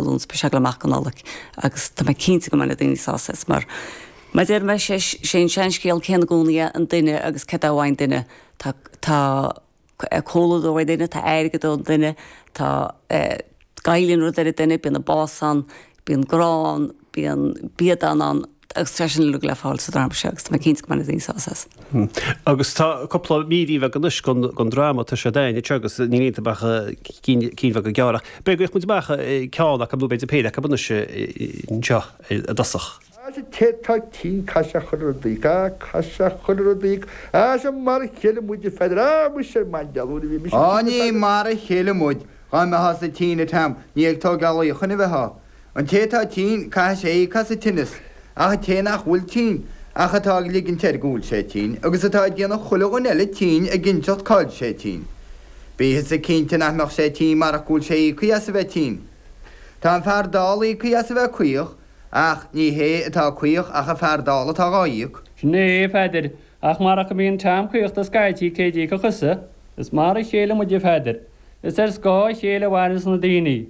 Lúnasa, beidh sé ag dul amach go Nollaig agus tá mé cinnte go mbeidh na daoine sásta as mar mar deir mé sé sé an seanscéal céanna i gcónaí é an duine agus céard é uaidh an duine tá tá comhluadar uaidh an duine tá airgead ón duine tá goilleann rud ar an duine bíonn an bás ann bíonn grá ann bíonn biadán ann agus tá sin uilig le fáil sa dráma seo agus tá mé cinnte go mbeidh na daoine sásta as. Agus tá cúpla mír bheag anois den dráma, tá sé d'ainn anseo agus níl iontu ach cinn bheaga gearra. Ach b'fhéidir go bhféadfadh muid amach ceann acu nó b'fhéidir péire acu anois anseo i dtosach. Is an té atá tinn caithfidh sé chuile rud a íoc, á caithfidh sé chuile rud a íoc, á is mar a chéile muid a Pheadair, á muise ar maidin nuair a bhí mise Á tinn a ní Pheadair. mar a chéile muid, dhá mbeifeá-sa tinn a Tom, ní ag tógáil luíochain a bheifeá. An té atá tinn, caithfidh sé íoc as an tinneas, ach an té nach bhfuil tinn, ach atá ag ligint air go bhfuil sé tinn, agus atá ag déanamh chuile dhuine eile tinn ag inseacht cá bhfuil sé tinn. Bítheasa cinnte nach mbeadh sé tinn marach go bhfuil sé íoctha as a bheith tinn. Tá an fear dall íoctha as a bheith caoch, ach ní hé atá caoch ach an fear dall atá dhá íoc. Sin é, a Pheadair, ach marach go mbíonn Tom caoch do scaití cé d'íocfadh thusa? Is mar a chéile muid, a Pheadair. Is ar scáth a chéile a mhaireanns na daoine.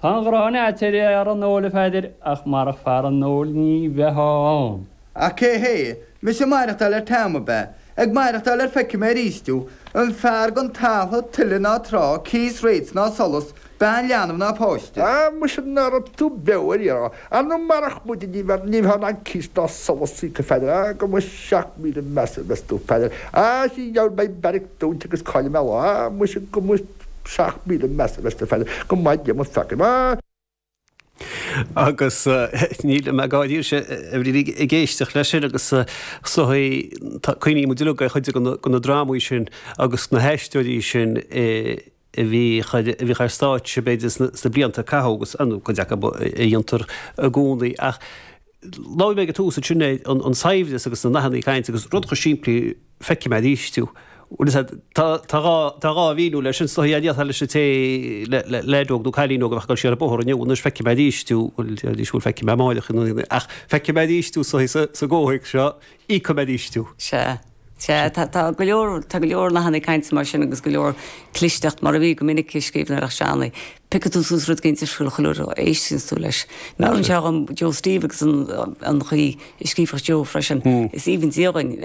Tá an ghráin a'd ar fhear an óil, a Pheadair, ach marach fear an óil ní bheifeá ann. Ach cé hé? Mise ag maireachtáil ar Tom, ab ea? Ag maireachtáil ar feicfidh mé arís thú, an fear gan talamh, tuile ná trá, cíos rates ná solas, bean leanbh ná páiste. Á, muise ná raibh tú beo ar iarraidh. Ar ndóigh marach muide ní bheadh ní bheifeá in ann cíos ná solas a íoc, a Pheadair. Á, go mba 7000 measa a bheas tú, a Pheadair. Á, sea, gheall beidh beairic dúnta agus caillfidh mé lá. Á, muise go mba 7000 measa a bheas tú, a Pheadair. Go maith Dia mo pheacaí. Á! Agus níl mé gáirí ag éisteacht leis sin agus is dóigh cuimhníonn muid uilig ar chuid de na drámaí sin agus na haisteoirí sin a bhíodh ar stáitse b'fhéidir sna blianta a caitheadh agus nó cuid acu a dhéantar i gcónaí ach labhair mé ag an tús ansin ar an saibhreas agus na nathanna cainte agus rud chomh simplí feicfidh mé arís thú. Bhuel is ea, tá tá dhá mhíniú leis sin, is dóigh déarfá leis an té le leaid óg nó cailín óg a bheadh ag dul siar an bóthar inniu anois feicfidh mé arís thú, bhuel déarfaidís bhuel feicfidh mé amáireach ach feicfidh mé arís thú sa sa gcomhthéacs seo, íocfaidh mé arís thú. Sea. Sea, tá tá go leor tá go leor nathanna cainte mar sin agus go leor clisteacht mar a bhí go minic i scríbhneoireacht Johnny. Piocfaidh tú suas rud éigin difriúil chuile uair a éisteanns tú leis. Meabhraíonn sé dhom Joe Steve agus an an chaoi a scríobhadh Joe freisin. Is aoibhinn Dia dhúinn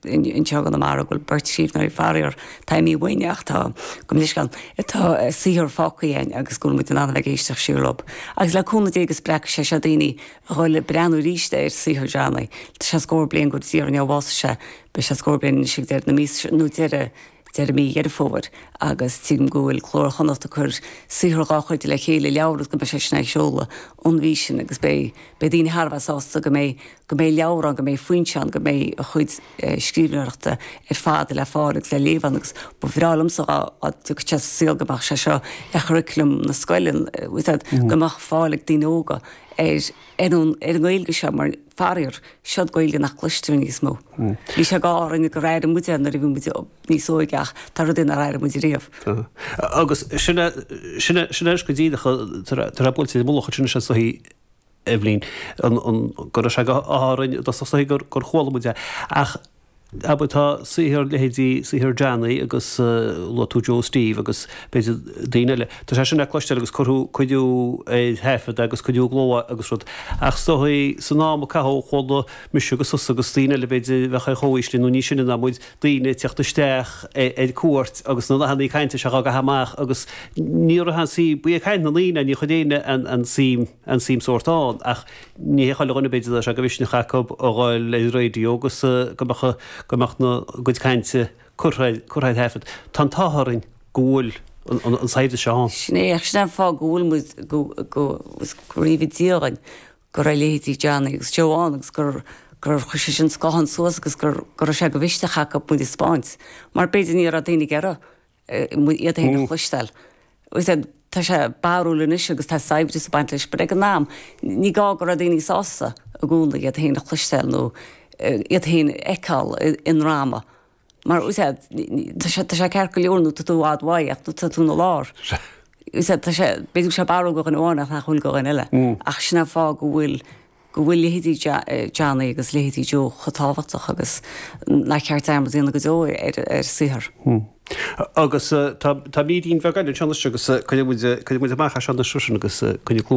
anseo i gConamara go bhfuil beirt scríbhneoirí faraor tá imithe uainn ach tá gabh mo leithscéal atá saothar fágtha againn agus go bhfuil muid in ann a bheith ag éisteacht siar leo. Agus le cúnamh Dé go spreagfaidh sé seo daoine a dhul ag breathnú arís ar saothar Johnny. Tá sé scór bliain go dtí ar bhásaigh sé, beidh sé scór bliain anois ag deireadh na míosa seo, nó deireadh, deireadh mí Dheireadh Fómhair, agus tuigim go bhfuil Glór Chonnacht ag cur saothar dhá chuid le chéile, leabhar agus go mbeidh sé sin á sheoladh an mhí sin agus beidh, beidh daoine thar a bheith sásta go mbeidh, go mbeidh leabhar ann, go mbeidh foinse ann, go mbeidh a chuid scríbhneoireachta ar fad le fáil agus le léamh ann agus ba bhreá liomsa dá dtiocfadh sé sa saol go mbeadh sé seo ar churriculum na scoile, go mbeadh fáil ag daoine óga ar ar an ar an nGaeilge seo mar faraor, seod Gaeilge nach gcloistear níos mó. Bhí sé go orainn gur airigh muid é nuair a bhí muid níos óige ach tá rudaí nár airigh muid riamh. Agus sin é sin é sin é go díreach tá sé buailte i mullach ansin is dóichí Eibhlín, an an go raibh sé go hÁrainn i dtosach is dóichí gur gur chuala muid é ach Abair tá saothar leithéidí saothar Johnny agus luaigh tú Joe Steve agus b'fhéidir daoine eile. Tá sé sin le cloisteáil agus cuireadh cuireadh ar thaifead agus cuireadh i gcló agus rud. Ach is dóigh san am a caitheadh chuala mise agus tusa agus daoine eile b'fhéidir a bheadh ar chomhaois linn nó níos sine ná muid, daoine ag teacht isteach ar cuairt agus na nathannaí cainte seo á gcaitheamh amach agus ní raibh an suim, ba é caint na ndaoine é, ní chuir éinne an suim an suim sórt ann ach ní hé chuile dhuine b'fhéidir a raibh sé de mhisneach acu a dhul ar an raidió agus go mbeadh go mbeadh na gcuid cainte curtha curtha ar thaifead. Tá an t-ádh orainn go bhfuil an an saibhreas seo ann. Sin é, ach sin é an fáth go bhfuil muid go go gur aoibhinn Dia dhúinn go raibh leithéidí Johnny agus Joe ann agus gur gur chuir sé sin scáthán suas agus gur go raibh sé de mhisneach acu muid a 'speáint mar b'fhéidir ní raibh daoine ag iarraidh iad féin a chloisteáil. Tá sé barrúil anois agus tá saibhreas ag baint leis, but ag an am, ní gá go raibh daoine sásta i gcónaí iad féin a chloisteáil nó iad féin a fheiceáil i ndráma. Mar tá sé tá sé ceart go leor nuair tá tú i bhfad uaidh ach nuair tá tú ina lár. Tá sé, b'fhéidir go bhfuil sé barrúil do dhuine amháin ach nach bhfuil do dhuine eile. Ach sin an fáth go bhfuil go bhfuil leithéidí Johnny agus leithéidí Joe chomh tábhachtach agus nár cheart dearmad a dhéanamh go deo ar a saothar. Agus tá mírín bheag eile anseo anois agus cuirfidh muid amach as seo anois freisin agus coinnigh cluas.